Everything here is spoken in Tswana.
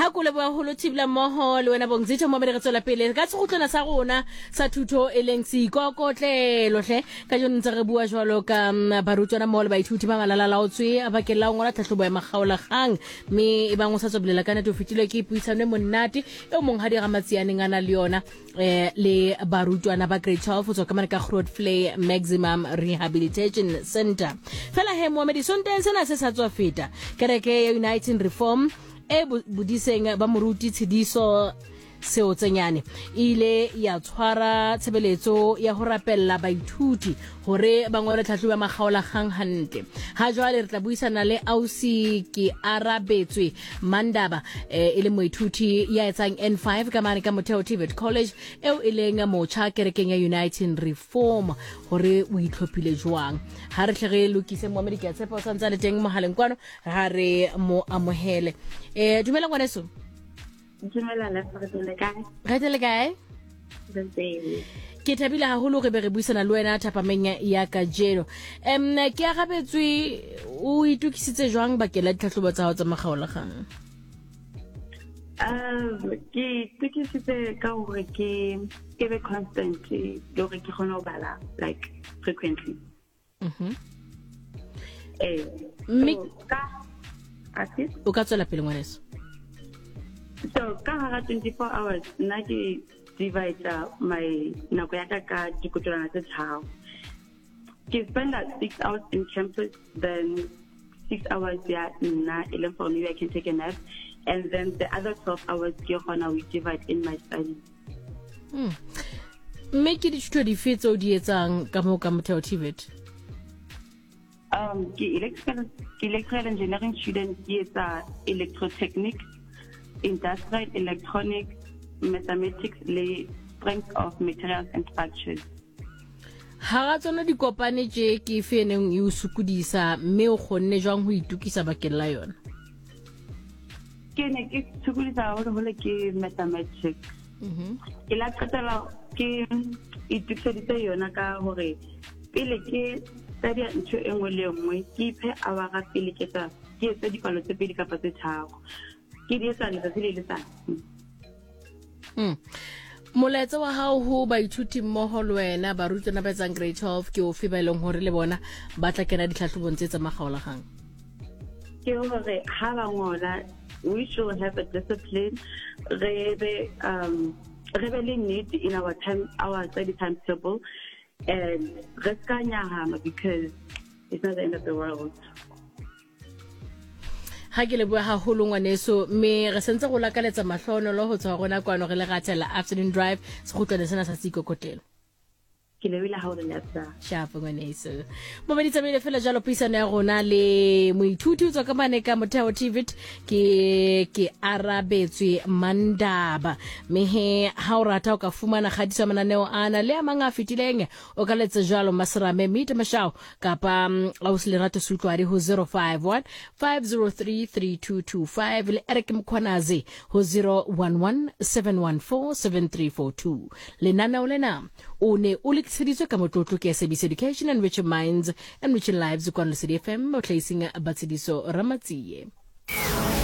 Ha ko leboha holo thibela mmoho le wena Bongzitho mo re tswela pele ka sekgutlwana sa rona sa thuto e leng seikokotlelo hle. Ka jeno ntse re bua jwalo ka mm, barutwana mmoho le baithuti ba malalalaotswe bakeng la ho ngola tlhahlobo ya makgaolakgang mme e bang o sa tswa bolela ka nete o fetilwe ke puisano e monate eo monghadi Ramatsianeng a na le yona eh le barutwana ba grade 12 go tswa ka mane ka Grootvlei Maximum Rehabilitation Center. Fela he moamedi sonteng sena se sa tswa feta kereke ya United Reform e bodiseng ba moruti Tshediso Seotsenyane e ile ya tshwara tshebeletso ya ho rapella baithuti hore ba ngole tlhahlobo ya makgaolakgang hantle. Ha jwale re tla buisana le ausi ke arabetswe Mandaba eh, e le moithuti ya etsang N5 ka mane ka Motheo TVET College eo e leng motjha kerekeng ya Uniting Reform hore o itlhophile jwang. Ha re hle re lokise moamedi ke a tshepa o santse a le teng mohaleng kwano ha re mo amohele. Eh dumela ngwaneso. Dumela le re kae? Re teng le kae? Re teng. Ke thabile haholo re be re buisana le wena thapameng ya kajeno. Em ke arabetswe o itokisitse jwang bakeng la ditlhahlobo tsa hao tsa makgaolakgang? Um, ke itokisitse ka hore ke ke be constant le hore ke kgone ho bala like frequently. Mhm. Eh. Mme ka o ka tswela pele ngwaneso. So ka hara 24 hours nna ke divide my nako ya ka ka dikotolwana tse tharo. Ke spend 6 hours in campus then 6 hours ya nna e leng for maybe I can take a nap and then the other 12 hours ke gona we divide in my studies. Hmm. Mme ke dithuto dife tse o di etsang ka moo ka Motheo TVET? Um, ke electrical, ke electrical engineering student, ke etsa electrotechnics, industrial electronics, mathematics le strength of materials and structures. Hara tsona dikopane tše ke efe e neng e o sokodisa mme o kgonne jwang ho itokisa bakeng la yona? Ke ne ke sokodisa haholoholo ke mathematics. Ke la qetela ke itokiseditse yona ka hore pele ke study ntho e nngwe le e nngwe ke iphe hour pele ke etsa ke etse dipalo tse pedi kapa tse tharo ke di etsa letsatsi le letsatsi. Molaetsa wa hao ho baithuti mmoho le wena barutwana ba etsang grade 12 ke ofe ba e leng hore le bona ba tla kena ditlhahlobong tse tsa makgaolakgang? Ke hore ha ba ngola we should have a discipline, re be um re be le nnete in our time, our study timetable, and re ska nyahama because it's not the end of the world. Ha ke leboha haholo ngwaneso mme re sentse go lakaletsa mahlonolo ho tswa rona kwano re le ratela afternoon drive sekgutlwane sena sa seikokotlelo. Ke lebile ha o le lapsa. Shapo ngwaneso. Momedi tsamaile fela jalo puisano ya rona le moithuti o tswa ka mane ka Motheo TVET ke ke arabetswe Mandaba. Mme he ha o rata o ka fumana kgatiso ya mananeo ana le a mang a fetileng o ka letsa jalo Maserame Meet Mashao kapa mm, ausi Lerato Sutlwadi ho 051 503 3225 le Eric Mkhwanazi ho 011 714 7342. Lenaneo lena o ne o lokiseditswe ka motlotlo ke SABC Education, Enriching Minds, Enriching Lives, kwano Lesedi FM, mohlahising Batshediso Ramatsie.